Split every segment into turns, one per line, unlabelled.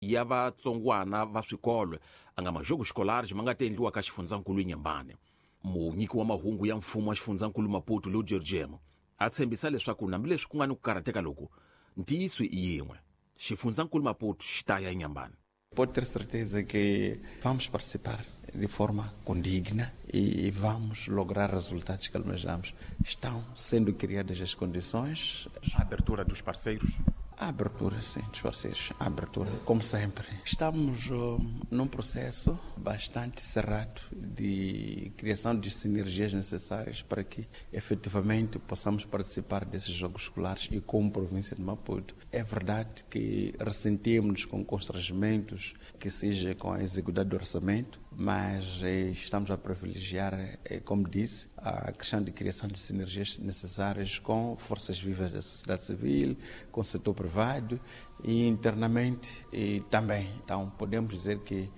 Ya vatsongwana va swikolo a nga majogo escolares ma nga ta endliwa ka xifundzankulu Inhambane. Munyiki wa mahungu ya mfumo wa xifundzankulu Maputo Ludger Jemo a tshembisa leswaku hambileswi ku nga ni ku karhateka loku, ntiyiso i yin'we, xifundzankulu Maputo xi ta ya Inhambane.
Pode ter certeza que vamos participar de forma condigna e vamos lograr resultados que almejamos. Estão sendo criadas as condições.
A abertura dos parceiros?
A abertura, sim, dos parceiros. A abertura, como sempre. Estamos num processo bastante cerrado de criação de sinergias necessárias para que efetivamente possamos participar desses Jogos Escolares e como província de Maputo. É verdade que ressentimos com constrangimentos que seja com a execução do orçamento, mas estamos a privilegiar, como disse, a questão de criação de sinergias necessárias com forças vivas da sociedade civil, com o setor privado e internamente e também. Então, podemos dizer que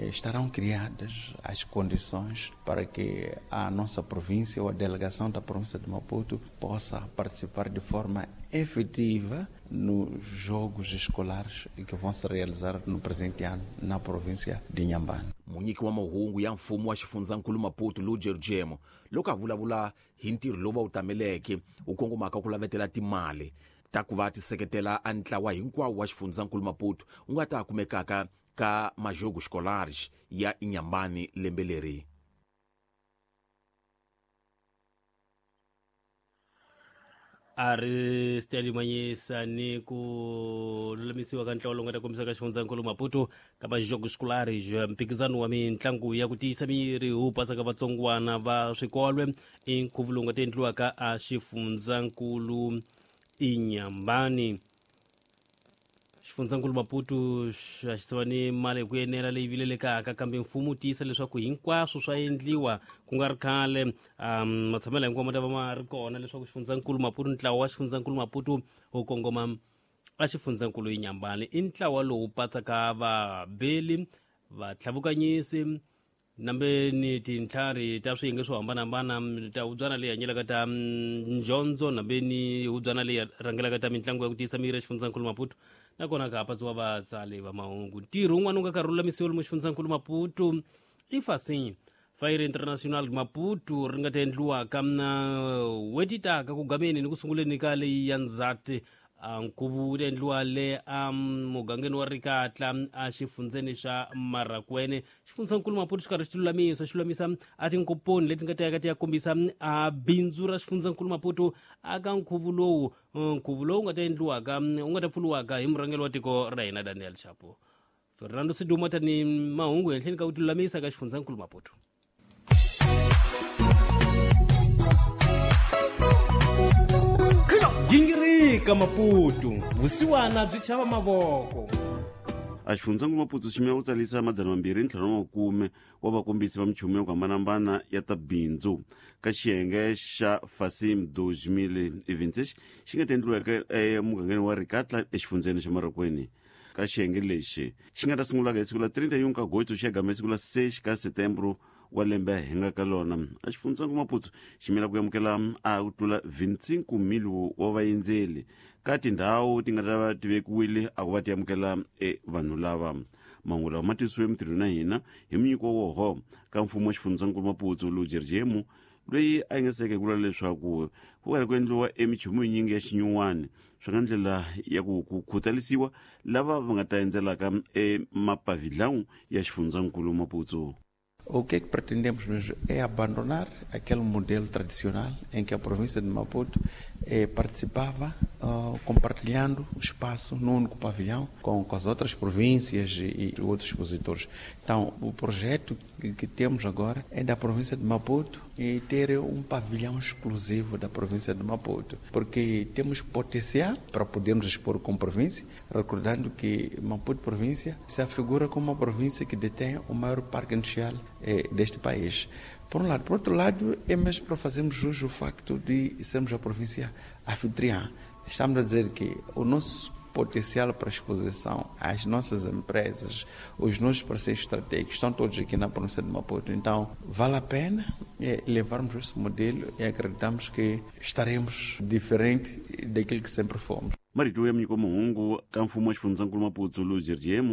estarão criadas as condições para que a nossa província ou a delegação da província de Maputo possa participar de forma efetiva nos Jogos Escolares que vão se realizar no presente ano na província de Inhambane.
Munyiki wa mahungu ya mfumo wa xifundzankulu Maputo Ludger Jemo loko a vulavula hi ntirho lowu va wu tameleke wu kongomaka ku lavetela timali ta ku va ti seketela a ntlawa hinkwawo wa xifundzankulu Maputo wu nga ta kumekaka ka majogo escolares ya Inhambane lembe leri.
A ri sitalimanyisa ni ku lulamisiwa ka ntlawa lowu nga ta kombisa ka xifundzankulu Maputo ka majogo escolares, mphikizano wa mitlangu ya ku tiyisa miri wu pasaka vatsongwana va swikolwe, i nkhuvo lowu nga ta endliwaka a xifundzankulu Inhambane. Xifundzankulu Maputo xa xi siva ni mali hi ku enela leyi vilelekaka, kambe mfumo wu tiyisa leswaku hinkwaswo swa endliwa ku nga ri khale. Matshamelo hinkwawo ma ta va ma ri kona leswaku xifundzankulu Maputo, ntlawa wa xifundzankulu Maputo wu kongoma a xifundzankulu Inhambane. I ntlawa lowu patsaka vabeli, vatlhavukanyisi, nambe ni tintlhari ta swiyenge swo hambanahambana ta hubyana leyi hanyelaka ta njondzo, nambe ni hubyana leyi rhangelaka ta mitlangu ya ku tiyisa miri exifundzankulu Maputo, nakona ka ha patsiwa vatsali va mahungu. Ntirho wun'wana wu nga karhi lulamisiwa lomu xifundzankulu Maputo i Facim Feira International Maputo ri nga ta endliwaka na n'hweti taka ku gameni ni ku sunguleni ka leyi ya Ndzhati. Nkhuvo wu ta endliwa le a mugangeni wa Rikatla a xifundzeni xa Marakwene. Xifundzankulu Maputo xi karhi xi tilulamisa, xi lulamisa a tinkomponi leti nga ta yaka ti ya kombisa a bindzu ra xifundzankulu Maputo aka nkhuvo lowu, nkhuvo lowu nga ta endliwaka, wu nga ta pfuriwaka hi murhangeri wa tiko ra hina Daniel Chapo. Fernando Siduma tani mahungu henhleni ka ku tilulamisa ka xifundzankulu Maputo.
Gingirika Maputo, vusiwana byi chava mavoko.
A xifundzankulu Maputo xi ku tsalisa 250 wa vakombisi va minchumu ya ku hambanahambana ya ta bindzu ka xiyenge xa Facim 2026 xi nga ta endliweke emugangeni wa Rikatla exifundzeni xa Marokweni. Ka xiyenge lexi xi nga ta sungulaka hi siku la 31 ka Agosto xi ya gama hi siku la 6 ka Setembro wa lembe hi nga ka lona. A xifundzankulu Maputo xi mela ku amukela a ku tlula 25 mil wa vaendzeli ka tindhawu ti nga ta va ti vekiwile a ku va ti amukela e vanhu lava. Mahungu lawa ma tisiwe mintirhweni na hina hi munyiki wa woho ka mfumo wa xifundzankulu Maputo Ludger Jemu, loyi a yingiseke ku vula leswaku ku karhi ku endliwa emichumu yinyingi ya xinyuwani swi nga ndlela ya ku ku khutalisiwa lava va nga ta endzelaka emapavilhão ya xifundzankulu Maputo.
O que é que pretendemos mesmo é abandonar aquele modelo tradicional em que a província de Maputo participava compartilhando o espaço no único pavilhão com as outras províncias e outros expositores. Então, o projeto que temos agora é da província de Maputo e ter um pavilhão exclusivo da província de Maputo, porque temos potencial para podermos expor como província, recordando que Maputo província se afigura como uma província que detém o maior parque industrial deste país. Por um lado. Por outro lado, é mesmo para fazermos jus ao facto de sermos a província anfitriã. Estamos a dizer que o nosso potencial para exposição, as nossas empresas, os nossos parceiros estratégicos estão todos aqui na província de Maputo. Então, vale a pena levarmos esse modelo e acreditamos que estaremos diferente daquilo que sempre fomos.
Marito ya munyiko mahungu ka mfumo wa xifundzankulu Maputo Luis Gergiemo.